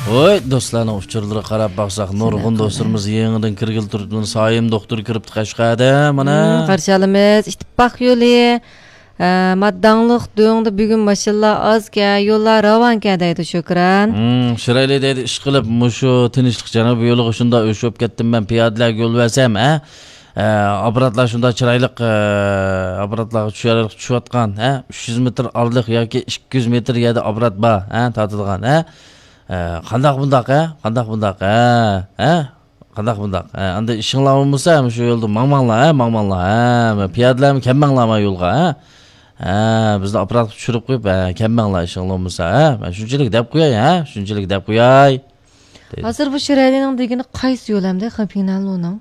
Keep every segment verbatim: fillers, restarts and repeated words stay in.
ۋوي، دوستلارنىڭ ئۇچۇرلىرىغا قاراپ باقساق، نۇرغۇن دوستلىرىمىز يېڭىدىن كىرگىلى تۇرۇپتۇ. سايىم دوختۇر كىرىپتۇ قەشقەردە، مانا. مم، قارشى ئالىمىز. ئىتتىپاق يولى، ئە، ماداڭلىق دۆڭدە بۈگۈن ماشىنىلار ئازكەن، يوللار راۋانكەن دەيدۇ شۆكران. مم، شىرايلى دەيدۇ، ئىشقىلىپ مۇشۇ تىنچلىق جەنۇبىي يولىغا شۇنداق ئۆچ بولۇپ كەتتىم مەن، پىيادىلەرگە يول بەرسەم، ھە؟ ئە، ئاپپاراتلار شۇنداق چىرايلىق، ئە، ئاپپاراتلارغا چۈشەرلىك چۈشۈۋاتقان، ھە؟ ئۈچ يۈز مېتىر ئارىلىق ياكى ئىككى يۈز مېتىر يەردە ئاپپارات بار، ھە؟ تارتىدىغان، ھە؟ ئە، قانداق بۇنداق، ھە؟ قانداق بۇنداق، ھە؟ ھە؟ قانداق بۇنداق؟ ھە، ئەمدى ئىشىڭلار بولمىسا، مۇشۇ يولدا ماڭماڭلار، ھە؟ ماڭماڭلار، ھە؟ پىيادىلەرمۇ كەلمەڭلار ما يولغا، ھە؟ ھە، بىزنى ئاپپاراتقا چۈشۈرۈپ قويۇپ، ھە، كەلمەڭلار ئىشىڭلار بولمىسا، ھە؟ مەن شۇنچىلىك دەپ قوياي، ھە؟ شۇنچىلىك دەپ قوياي. دەيدۇ. ھازىر بۇ شىرەلىنىڭ دېگىنى قايسى يول ئەمدى، خېپىڭنەنلۇنىڭ؟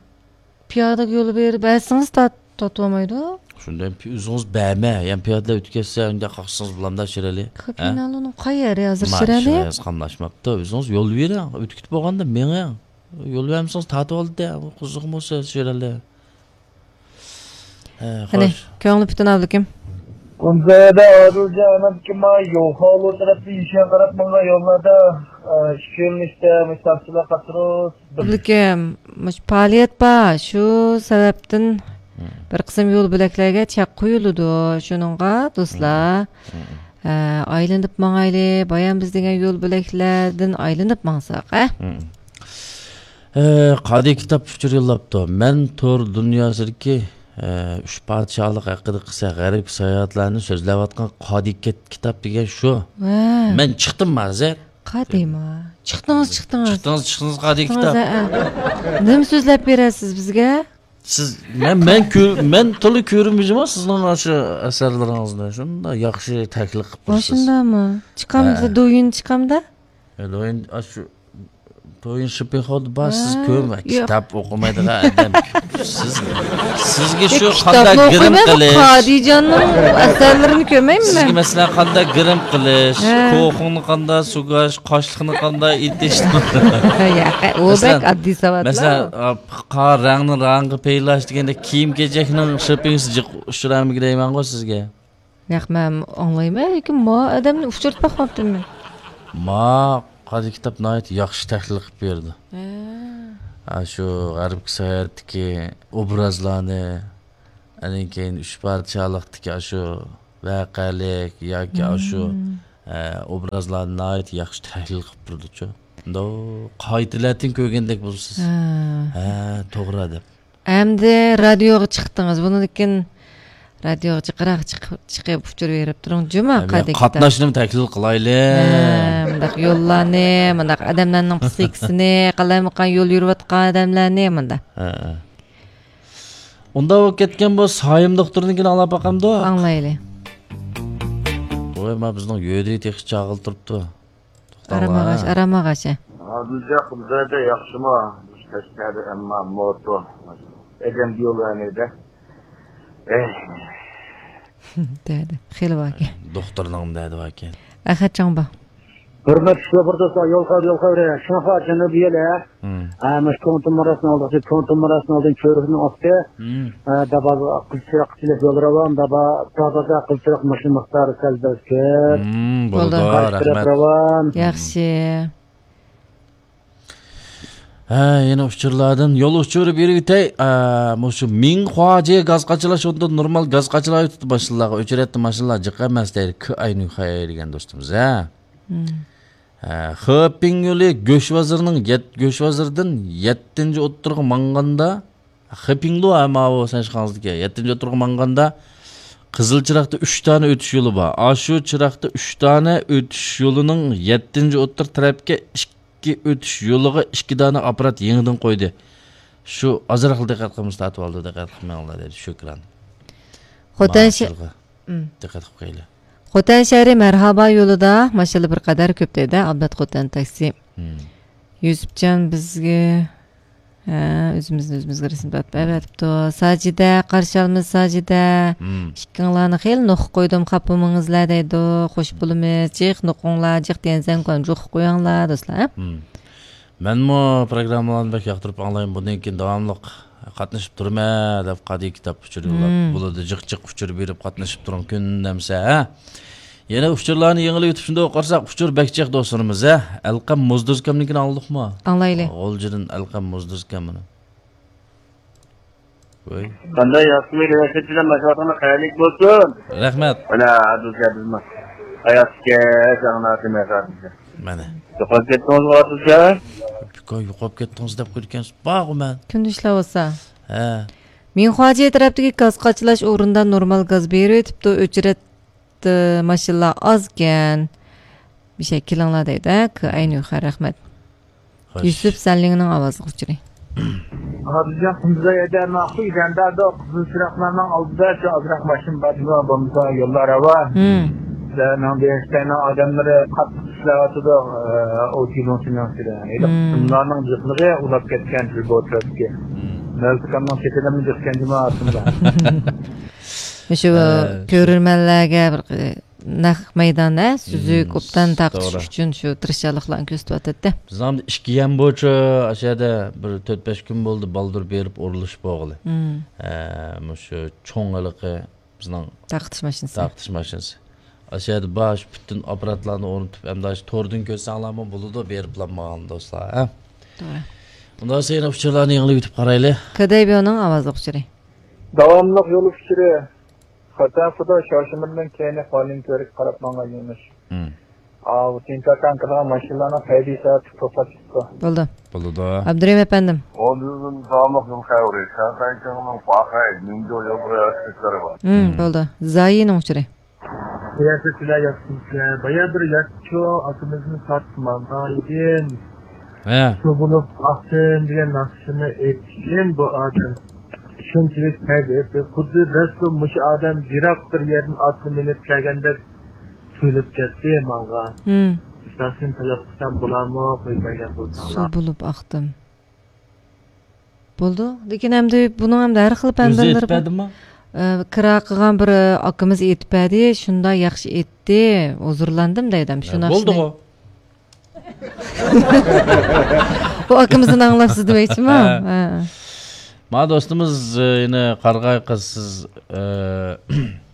پىيادىگە يول بېرىپ بەرسىڭىز تارت-، تارتىۋالمايدۇ. شۇنداق ئۆزىڭىز بەرمە، يەنە پىيادىلەر ئۆتۈپ كەتسە، ئۇنداق قاقسىڭىز بولامدا شىرەلى؟ ھە؟ خېپىڭنەنلۇنىڭ قاي يەرى ھازىر ما شىرەلى؟ ئىشىڭىز قاملاشماپتۇ، ئۆزىڭىز يول بېرىڭ، ئۆتۈپ كېتىپ بولغاندا مېڭىڭ. يول بەرمىسىڭىز تارتىۋالدى، قىزىقمۇ شىرەلى. ھە، قېنى، خوش. كۆڭلى پۈتۈن ئابلىكىم. كۇنزايەدە ئادىلجان ئانامكىما يوخالۇ تەرەپتە يېشىغا قاراپ ماڭغان يوللاردا، ئە، ئىككى يۆنىلىشتە مۇشۇ تاكسىلار قاتناش. ئابلىكىم، مۇشۇ پائالىيەت بار، شۇ سەۋەبتىن مم. بىر قىسىم يول بۆلەكلەرگە چەك قويۇلىدۇ. شۇنىڭغا دوستلار، مم. ئە، ئايلىنىپ ماڭايلى، بايام بىز دېگەن يول بۆلەكلەردىن ئايلىنىپ ماڭساق، ھە؟ مم. ئە، قادىي كىتاب ئۇچۇر يوللاپتۇ. مەن تور دۇنياسىدىكى، ئە، ئۈچ پادىشاھلىق ھەققىدە قىسسە غەربكە ساياھەتلەرنى سۆزلەۋاتقان قادىي كىت-، كىتاب دېگەن شۇ. ۋە. مەن چىقتىممۇ ھازىر؟ قادىيما. چىقتىڭىز، چىقتىڭىز. چىقتىڭىز، چىقتىڭىز قادىي چىقتىڭىز، كىتاب. ھە، ھە. نېمە سۆزلەپ بېرەسىز بىزگە؟ سىز، مەن، مەن كۆر-، مەن تولا كۆرمىگەنمەن سىزنىڭ ئاشۇ ئەسەرلىرىڭىزنى. شۇنداق ياخشى تەھلىل قىلىپ ۋە، تۇرسىز. شۇنداقمۇ؟ چىقامدا، ھە. دويىن چىقامدا؟ ھە، دويىن، ئاشۇ تويۇن شىپىنخوردا بار، سىز ھە، كۆرمە، ياق. كىتاب ئوقۇمايدىغان ئادەم. سىز، سىزگە يا، شۇ كىتابنى قانداق گىرىم ئوقۇيمەن، قىلىش. قادىجاننىڭ ئەسەرلىرىنى كۆرمەيمەن سىزگە، مەن. مەسىلەن، قانداق گىرىم قىلىش، ھە. كوخۇڭنى قانداق سۈگەش، قاشلىقنى قانداق ئېتىش. ياق، ئۇ مەسىلەن، بەك ئاددىي ساۋاتلار. مەسىلەن، ئا، قا-، رەڭنى رەڭگە پەيلاش دېگەندە، كىيىم-كېچەكنىڭ شىپىنگىسى جىق ئۇچرامىكىن دەيمەنغۇ سىزگە. ياق، مەن ئاڭلايمەن، لېكىن ما ئادەمنى ئۇچرىتىپ باقماپتىمەن. ما قادىي كىتاب ناھايىتى ياخشى تەھلىل قىلىپ بېرىدۇ. ھە. ئاشۇ غەربكە ساياھەتتىكى ئوبرازلارنى، ئاندىن كېيىن ئۈچ پادىشاھلىقتىكى ئاشۇ ۋەقەلىك ياكى ئاشۇ، مم. ئە، ئوبرازلارنى ناھايىتى ياخشى تەھلىل قىلىپ بېرىدۇچۇ. مۇنداق قايتىلەتىن كۆرگەندەك بولىسىز. ھە. ھە، توغرا دەپ. ئەمدى رادىيوغا چىقتىڭىز. بۇنىڭدىن كېيىن رادىيوغا جىقراق چىقىپ، چىقىپ ئۇچۇر بېرىپ تۇرۇڭ جۇمۇ، ھە، قادىي كىتاب. قاتناشنىمۇ تەكلىپ قىلايلى. ھە، مۇنداق يوللارنى، مۇنداق ئادەملەرنىڭ پسىخىكىسىنى، قالايمىقان يول يۈرۈۋاتقان ئادەملەرنى مۇنداق. ھە، ھە. ئۇنداق بولۇپ كەتكەن بۇ سايىم دوختۇرنىڭكىنى ئاڭلاپ باقامدۇ؟ ئاڭلايلى. ۋوي، ما بىزنىڭ يۆدىي تېخى چاغىلا تۇرۇپتۇ. ئارام ئاغاچ، ئارام ئاغاچ. ھازىرچە قۇمزايدا ياخشىمۇ؟ قەشقەردە ئەمما موتو. ئەدەم يول ئەنىدە. ئەي. دەدى. خېلى باركەن. دوختۇرنىڭ دەدى باركەن. ئەخەت چاڭبا. ھۆرمەتلىك شوپۇر دوستلار، يول خەۋىرى، يول خەۋىرى. شۇڭا جەنۇبىي يول، ھە؟ مم. ھە، مۇشۇ كوڭتىن مۇراسنىڭ ئالدىغىچە، كوڭتىن مۇراسنىڭ ئالدىن كۆۋرۈكنىڭ ئاستى. مم. ھە، دابا قىزچىراق كېلىپ يول راۋان، دابا، دابا قىزچىراق ماشىنا مىقدارى سەل بەس كۆپ. مم، بولىدۇ، بولىدۇ، قارشى تەرەپ رەھمەت. راۋان. ياخشى. ھە، يەنە ئۇچۇرلاردىن يول ئۇچۇرى بېرىۋېتەي. ئە، مۇشۇ مىڭخۇاجې گاز قاچىلاش ئورنىدا نورمال گاز قاچىلاۋېتىپتۇ ماشىنىلارغا. ئۆچرەتتى ماشىنىلار جىق ئەمەس دەيدۇ. كۈئاينۈخەي دېگەن دوستىمىز، ھە. مم. ھە، خېپىڭ يولى گۆش بازىرىنىڭ يەت-، گۆش بازىرىدىن يەتتىنچى ئوتتۇرىغا ماڭغاندا، خېپىڭدۇ، ھە، ماۋۇ سەنشىخاڭزىدىكى يەتتىنچى ئوتتۇرىغا ماڭغاندا، قىزىل چىراغدا ئۈچ دانە ئۆتۈش يولى بار. ئاشۇ چىراغدا ئۈچ دانە ئۆتۈش يولىنىڭ يەتتىنچى ئوتتۇر تەرەپكە ئىككى ئۆتۈش يولىغا ئىككى دانە ئاپپارات يېڭىدىن قويدى. شۇ ئازراقلا دىققەت قىلمىسا تارتىۋالىدۇ، دىققەت قىلماڭلار دەيدۇ. شۈكران. خوتەن شە-، ماشىنىغا مم. دىققەت قىلىپ قويىلى. خوتەن شەھىرى مەرھابا يولىدا ماشىنىلار بىر قەدەر كۆپ دەيدۇ، ئابلەت خوتەن تاكسى. مم. يۈسۈپجان بىزگە، ھە، ئۆزىمىزنى ئۆزىمىزگە رەسىم تارتىپ ئەۋەتىپتۇ. ساجىدە، قارشى ئالىمىز ساجىدە. مم. ئىككىڭلارنى خېلى نوقۇ قويدۇم، خاپا بولمىڭىزلار دەيدۇ. خوش بولىمىز. جىق نوقۇڭلار، جىق دېگەن سەن جۇق قويۇڭلار، دوستلار. مم. مەنمۇ پروگراممىلارنى بەك ياقتۇرۇپ ئاڭلايمەن. بۇندىن كېيىن داۋاملىق قاتنىشىپ تۇرىمەن دەپ قادىي كىتاب ئۇچۇر يوللاپ. مم. بولىدۇ، جىق جىق ئۇچۇر بېرىپ قاتنىشىپ تۇرۇڭ كۈندە ئەمسە، ھە؟ يەنە ئۇچۇرلارنى يېڭىلىۋېتىپ شۇنداق قارىساق، ئۇچۇر بەك جىق دوستلىرىمىز، ھە؟ ئەلقەم مۇزدۇزكەمنىڭكىنى ئاڭلىدۇقمۇ؟ ئاڭلايلى. غۇلجىدىن ئەلقەم مۇزدۇزكەم مانا. ۋوي. قانداق ياخشىمۇ، رەھمەت بىلەن ماشۇ ۋاقىتنىڭ خەيرلىك بولسۇن. رەھمەت. مانا، ئادىلجان بىزمۇ ھاياتكەن، ئاڭلاتىمەن. مانا. يوقاپ كەتتىڭىزغۇ، ئادىلجان؟ يوقاپ كەتتىڭىز دەپ قويىدىكەنسىز. بارغۇ مەن. كۈندۈز ئىشلەۋاتسا. ھە. مىڭخۇاجى تەرەپتىكى گاز قاچىلاش ئورنىدا نورمال گاز بېرىۋېتىپتۇ، ئۆچرەت ماشىنىلار ئازكەن. بىر شەي كېلىڭلار دەيدۇ، ھە، كائەينۇخەر، رەھمەت. خوش. يۈسۈپ سەنلىڭنىڭ ئاۋازلىق ئۇچۇرى. ھازىرجان قۇمزا يەردە ماقۇل يېتەندە قىزىل چىراغلارنىڭ ئالدىدا شۇ ئازراق ماشىنا بار، بولمىسا يوللار راۋان. ھىم. سىلەرنىڭ دېيىشلەرنىڭ ئادەملىرى قاتتىق ئىشلەۋاتىدۇ، ئۇ جىلىڭ سېنىڭ ئىچىدە. ھېلىقى ھىم. قىسىملارنىڭ جىقلىقى ئۇلاپ كەتكەن شۇ بوترەتكە. ھىم. مەلسىكاننىڭ چېكىنىمۇ جىقكەن جۇما ئاستىدا. شۇ ھە، شۇ. كۆرۈرمەنلەرگە بىر نەق مەيدان، ھە، سۈزۈك، مم، ئوبدان تارقىتىش توغرا. ئۈچۈن شۇ تىرىشچانلىقلارنى كۆرسىتىۋاتاتتى. بىزنىڭ ئىككى يەم بويىچە ئاشۇ يەردە بىر تۆت بەش كۈن بولدى، بالدۇر بېرىپ ئورۇنلىشىپ بولغىلى. مم. ھە، مۇشۇ چوڭ ھېلىقى بىزنىڭ تارقىتىش ماشىنىسى. تارقىتىش ماشىنىسى. ئاشۇ يەردە بار شۇ پۈتۈن ئاپپاراتلارنى ئورنىتىپ، ئەمدى ئاشۇ توردىن كۆرسەڭلارمۇ بولىدۇ، بېرىپلا ماڭىڭ دوستلار، ھە؟ توغرا. ئۇنداق بولسا يەنە ئۇچۇرلارنى يېڭىلىۋېتىپ قارايلى. كېدەيبيونىڭ ئاۋازلىق ئۇچۇرى. داۋاملىق يول ئۇچۇرى. خوتەن خۇدا شارشېمىدىن كېيىن خۇالىن كۆۋرۈككە قاراپ ماڭغان يۆنىلىش. مم. ئاۋۇ تىنتاكان كىرغان ماشىنىلارنىڭ ھەيدىشى توختاپ چىقتى. بولدى. بولىدۇ. ئابدۇرېھىم ئەپەندىم. ئوندىن داۋاملىق يول خەۋىرى. شياڭخەنچىڭنىڭ باخەي، مىنجۇ يول بۇرا ھەرىكەتلىرى بار. مم، مم. بولدى. زايىنىڭ ئۇچۇرى. سىلەر، سىلەر ياخشىمۇسىلەر؟ بايا بىر ياخشى ئاكىمىزنى ساتماغان ئىدىم. ھە. سۇ بولۇپ ئاقتىم دېگەن ناخشىنى ئېيتىشىم بۇ ئادەم. شۇنچىلىك تەز ئېيتتى. خۇددى دەسلى مۇشۇ ئادەم يىراق بىر يەردىن ئاتنى مىنىپ كەلگەندەك تۇيۇلۇپ كەتتى ماڭا. ھىم. ئىستاسىنى تەلەپ قىلسام بولارمۇ؟ قويۇپ بەرگەن سۇ بولساڭلار. بولۇپ ئاقتىم. بولدى. لېكىن ئەمدى بۇنىڭ ئەمدى ھەر خىل ئۆزى پەندىلىرى ئېيتىپ بار. بەردىمۇ؟ ئە، كىرا قىلغان بىر، ئە، ئاكىمىز ئېيتىپ بەردى، شۇنداق ياخشى ئېيتتى، ھۇزۇرلاندىم دەيدۇ. شۇ ھە، ناخشىنى. بولدىغۇ. بۇ ئاكىمىزدىن ئاڭلاپسىز دېمەكچىمۇ؟ ھە. ھە. ما دوستىمىز، ئە، يەنە قارىغاي قىز، سىز، ئە،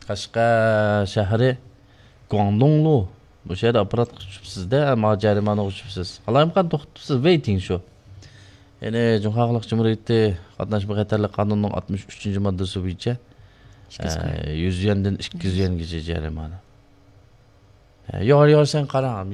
قەشقەر شەھىرى گۇاڭدۇڭلۇ. مۇشۇ يەردە ئاپپاراتقا چۈشۈپسىز-دە، ماڭا جەرىمانىغا چۈشۈپسىز. ئالايىمقان توختىتىپسىز، ۋېيتىڭ شۇ. يەنى جۇڭخۇا خەلق جۇمھۇرىيىتى قاتناشما خەتەرلىك قانۇنىنىڭ ئاتمىش ئۈچىنچى ماددىسى بويىچە، ئىككى يۈز ئە، يۈەندىن ئىككى يۈز يۈەنگىچە جەرىمانە. ئە، يوغان، يوغان، سەن قاراڭ.